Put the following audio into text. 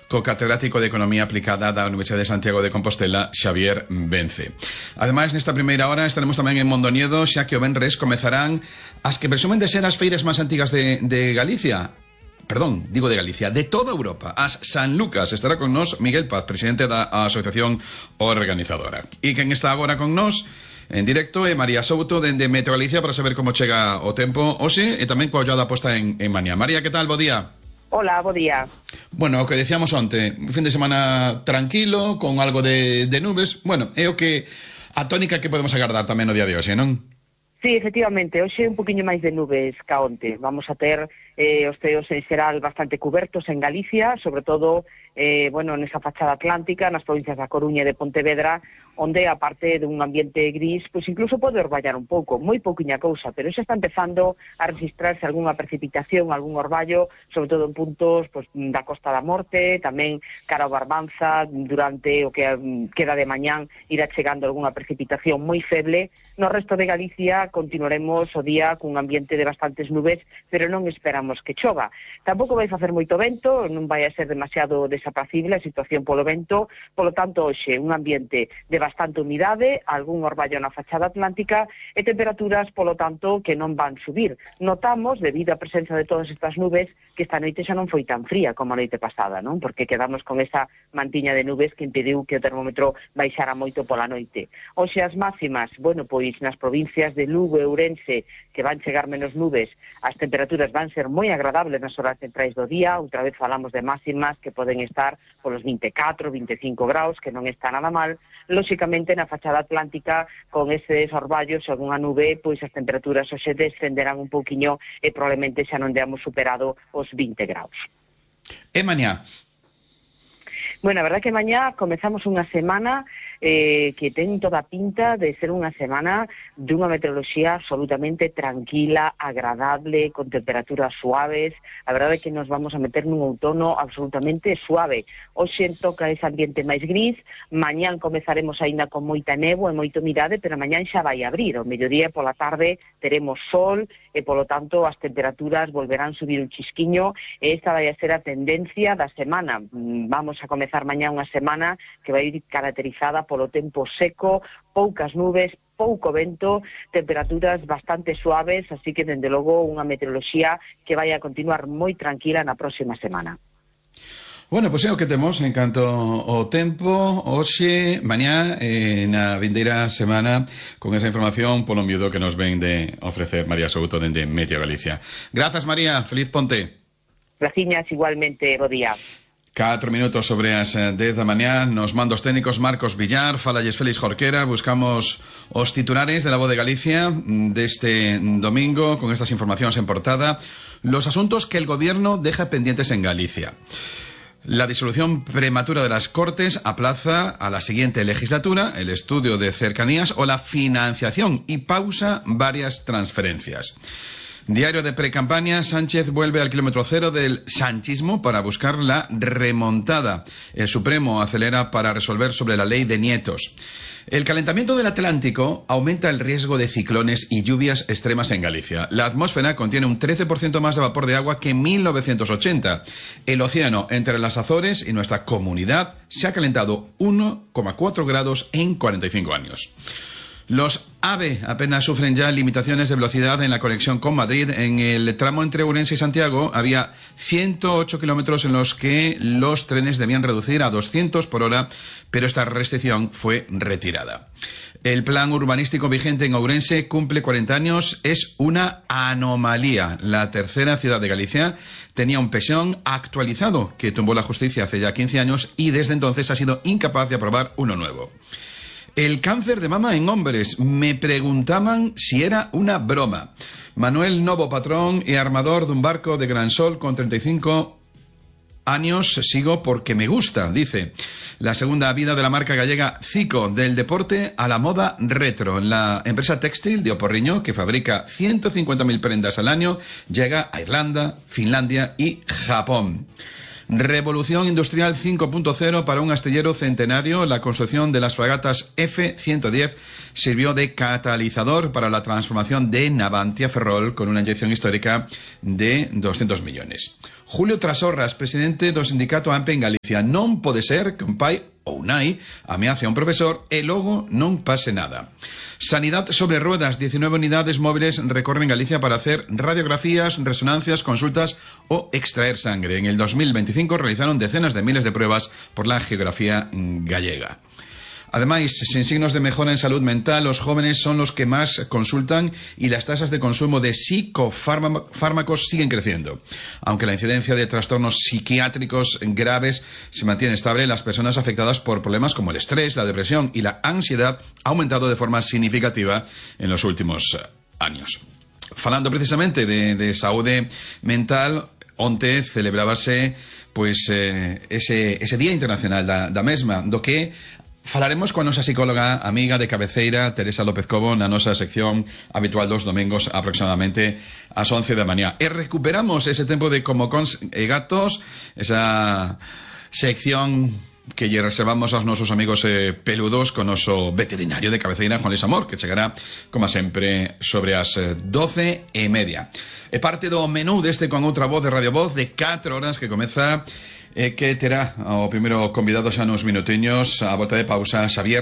co catedrático de Economía Aplicada da Universidade de Santiago de Compostela, Xavier Vence. Ademais, nesta primeira hora estaremos tamén en Mondoñedo, xa que o venres comezarán as que presumen de ser as feiras máis antigas de Galicia. Perdón, digo de Galicia, de toda Europa, as San Lucas. Estará con nos Miguel Paz, presidente da asociación organizadora. E quen está agora con nos en directo é María Souto dende Meteo Galicia para saber como chega o tempo hoxe e tamén coa ollada posta en Mañá. María, que tal? Bo día. Hola, bo día. Bueno, o que decíamos onte, un fin de semana tranquilo, con algo de nubes. Bueno, é o que a tónica que podemos agardar tamén no día de hoxe, non? Sí, efectivamente, hoxe un poquinho máis de nubes ca onte. Vamos a ter os ceos en xeral bastante cubertos en Galicia, sobre todo nesa fachada atlántica, nas provincias da Coruña e de Pontevedra, onde, aparte dun ambiente gris, pois incluso pode orballar un pouco, moi pouquiña cousa, pero xa está empezando a registrarse algunha precipitación, algún orballo, sobre todo en puntos da Costa da Morte, tamén cara ao Barbanza, durante o que queda de mañán irá chegando algunha precipitación moi feble. No resto de Galicia continuaremos o día cun ambiente de bastantes nubes, pero non esperamos que chova. Tampouco vai facer moito vento, non vai a ser demasiado desapacible a situación polo vento, polo tanto, hoxe un ambiente de bastante humidade, algún orballo na fachada atlántica e temperaturas, polo tanto, que non van subir. Notamos, debido á presenza de todas estas nubes, que esta noite xa non foi tan fría como a noite pasada, non? Porque quedamos con esa mantiña de nubes que impediu que o termómetro baixara moito pola noite. Hoxe as máximas, pois nas provincias de Lugo e Ourense, que van chegar menos nubes, as temperaturas van ser moi agradables nas horas centrais do día. Outra vez falamos de máximas que poden estar polos 24, 25 graus, que non está nada mal. Lóxicamente, na fachada atlántica, con eses orballos e algunha nube, pois as temperaturas hoxe descenderán un pouquiño e probablemente xa non deamos superado os 20 graus. E mañá? Bueno, a verdad que mañá comezamos unha semana que ten toda a pinta de ser unha semana dunha meteoroloxía absolutamente tranquila, agradable, con temperaturas suaves. A verdade é que nos vamos a meter nun outono absolutamente suave. Hoxe toca ese ambiente máis gris, mañán comezaremos aínda con moita néboa e moita humidade, pero mañán xa vai abrir. Ao mediodía e pola tarde teremos sol e, polo tanto, as temperaturas volverán subir un chisquiño e esta vai a ser a tendencia da semana. Vamos a comezar mañá unha semana que vai ir caracterizada polo tempo seco, poucas nubes, pouco vento, temperaturas bastante suaves, así que, dende logo, unha meteoroloxía que vai a continuar moi tranquila na próxima semana. Bueno, pois é o que temos en canto ao tempo hoxe, mañá, na vindeira semana, con esa información polo miúdo que nos ven de ofrecer María Souto dende Meteo Galicia. Grazas, María, feliz ponte. Graciñas, igualmente, bo día. 4 minutos sobre as 10 da mañá, nos mandos técnicos Marcos Villar, falalles Félix Jorquera, buscamos os titulares de La Voz de Galicia deste domingo con estas informacións en portada, los asuntos que el gobierno deja pendientes en Galicia. La disolución prematura de las Cortes aplaza a la siguiente legislatura el estudio de cercanías o la financiación y pausa varias transferencias. Diario de precampaña, Sánchez vuelve al kilómetro cero del sanchismo para buscar la remontada. El Supremo acelera para resolver sobre la ley de nietos. El calentamiento del Atlántico aumenta el riesgo de ciclones y lluvias extremas en Galicia. La atmósfera contiene un 13% más de vapor de agua que en 1980. El océano entre las Azores y nuestra comunidad se ha calentado 1,4 grados en 45 años. Los AVE apenas sufren ya limitaciones de velocidad en la conexión con Madrid. En el tramo entre Ourense y Santiago había 108 kilómetros en los que los trenes debían reducir a 200 por hora, pero esta restricción fue retirada. El plan urbanístico vigente en Ourense cumple 40 años. Es una anomalía. La tercera ciudad de Galicia tenía un PSOE actualizado que tumbó la justicia hace ya 15 años y desde entonces ha sido incapaz de aprobar uno nuevo. El cáncer de mama en hombres. Me preguntaban si era una broma. Manuel Novo, patrón e armador dun barco de Gran Sol con 35 años, sigo porque me gusta, dice. La segunda vida de la marca gallega Zico, del deporte a la moda retro. La empresa textil de Oporriño, que fabrica 150.000 prendas al año, llega a Irlanda, Finlandia y Japón. Revolución industrial 5.0 para un astillero centenario. La construcción de las fragatas F-110 sirvió de catalizador para la transformación de Navantia Ferrol con una inyección histórica de 200 millones. Julio Trasorras, presidente do sindicato AMPE en Galicia. Non pode ser que un pai ou un nai ameace a un profesor e logo non pase nada. Sanidad sobre ruedas. 19 unidades móviles recorren Galicia para hacer radiografías, resonancias, consultas o extraer sangre. En el 2025 realizaron decenas de miles de pruebas por la geografía gallega. Además, sin signos de mejora en salud mental, los jóvenes son los que más consultan y las tasas de consumo de psicofármacos siguen creciendo. Aunque la incidencia de trastornos psiquiátricos graves se mantiene estable, las personas afectadas por problemas como el estrés, la depresión y la ansiedad han aumentado de forma significativa en los últimos años. Falando precisamente de saúde mental, onte celebrábase ese Día Internacional da mesma, do que falaremos con a nosa psicóloga amiga de cabeceira, Teresa López Cobo, na nosa sección habitual dos domingos aproximadamente ás 11 da mañá. E recuperamos ese tempo de Como Cons e Gatos, esa sección que lle reservamos aos nosos amigos peludos con o noso veterinario de cabeceira, Juan Luis Amor, que chegará, como sempre, sobre as 12:30. É parte do menú deste Con Outra Voz de Radio Voz de 4 horas que comeza, que terá o primeiro convidado xa nos minutiños, a volta de pausa, Xavier